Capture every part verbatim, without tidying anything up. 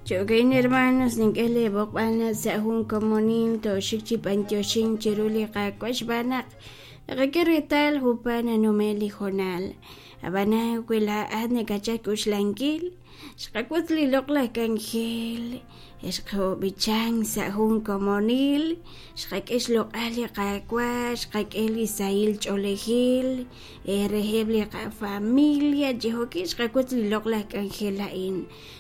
Jo'kan hermanos nink'e leeb'oqb'al naq sa' jun komonil tooxik chi b'antioxink chiru li Qaawa' xb'aan naq naqak'e reetal junpaat nanume' li hoonal. Ab'anan wi laa'at nakachal k'uxlankil xqawotz li loq'laj k'anjel, xqob'ichank sa' jun komonil, xqak'e xloq'al li Qaawa', xqak'e li sahil ch'oolejil reheb' li qafamilia chi jo'kan xqawotz li loq'laj k'anjel a'in.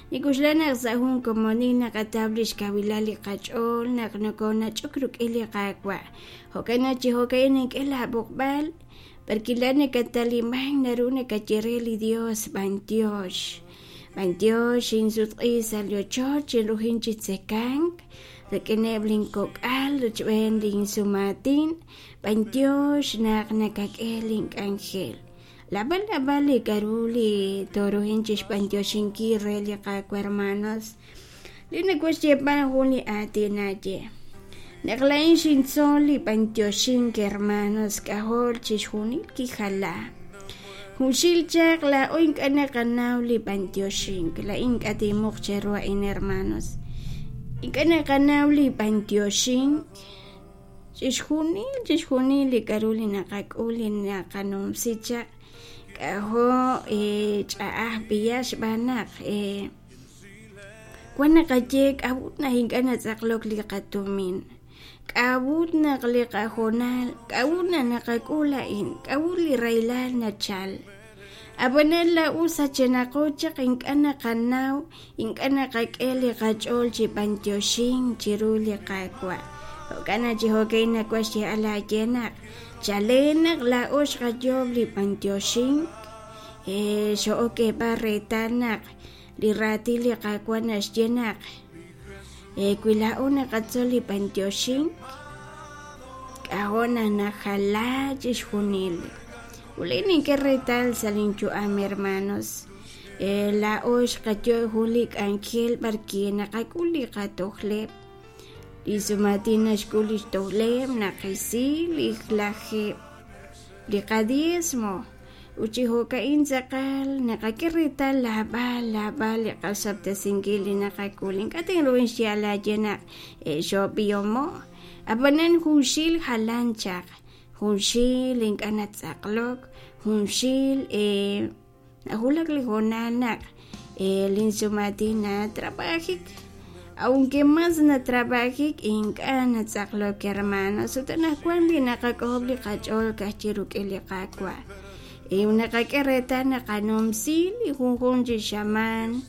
Nik'uxla naq sa' jun komonil naqataw li xkawilal li qach'ool naq nokonach'ok rik'in li Qaawa'. Jo'kan naq chi jo'kan nink'e laab'oqb'al parkila nakataliman naru nakaye re li Dios b'antiox. B'antiox xinsutq'i sa' li ochoch xinrujin chi tzekank rik'ineb' linkok'al rochb'een linsumaatin b'antiox naq nakak'e link'anjel. Lab'al lab'al li k'aru li torujin chi xb'antioxinkil re li Qaawa' hermanos. Li nawaj xyeeb'al jun li aatin aye. Naq laa'in xintzol li b'antioxink hermanos k'ajol chixjunil kijala. Junxil chaq laa'o ink'a' naqanaw li b'antioxink. Laa'in ink'a' tinmuq cheru a'in hermanos. Ink'a' naqanaw li b'antioxink. Chixjunil chixjunil li k'aru li naqak'ul li naqanumsi chaq k'ajo' ch'a'aj b'iya xb'aan naq wan naqaye k'a'ut naq ink'a' natz'aqlok li qatumin. K'a'ut naq li qahoonal, k'a'ut naq naqak'ul a'in, k'a'ut li rahilal nachal. Ab'anan laa'o sachenaqo chaq ink'a' naqanaw, ink'a' naqak'e li qach'ool chi b'antioxink chiru li Qaawa'. Jo'kan naq chi jo'kan nawaj xyeeb'al aaye naq chalen naq laa'o xqayoob' li b'antioxink, xo'ok k'eeb'al reetal naq li raatin li Qaawa' naxye naq wi laa'o naqatzol li b'antioxink, k'ajo' naq najala chixjunil. Uli nink'e reetal sa' linyu'am hermanos. Laa'o xqayo' jun li k'anjel b'arki naqak'ul li qatojleb'. Li sumaatin naxk'ul li xtojleb', naqisi li lajeb', li qadiezmo. Ut chi jo'ka'in tz'aqal naqak'e reetal lab'al lab'al li qasob'tesinkil li naqak'ul. Ink'a' tinruhin xyeeb'al aaye naq xoob'ihomo'. Ab'anan junxil jalan chaq, junxil ink'a' natz'aqlok, junxil najulak li hoonal naq linsumaatin natrab'ajik. Aunque más natrab'ajik ink'a' natz'aqlok hermanos. Ut anaqwan li naqak'ojob' li qach'ool ka'ajchi rik'in li Qaawa'. Naqak'e reetal naqanumsi li junjunq chi xamaan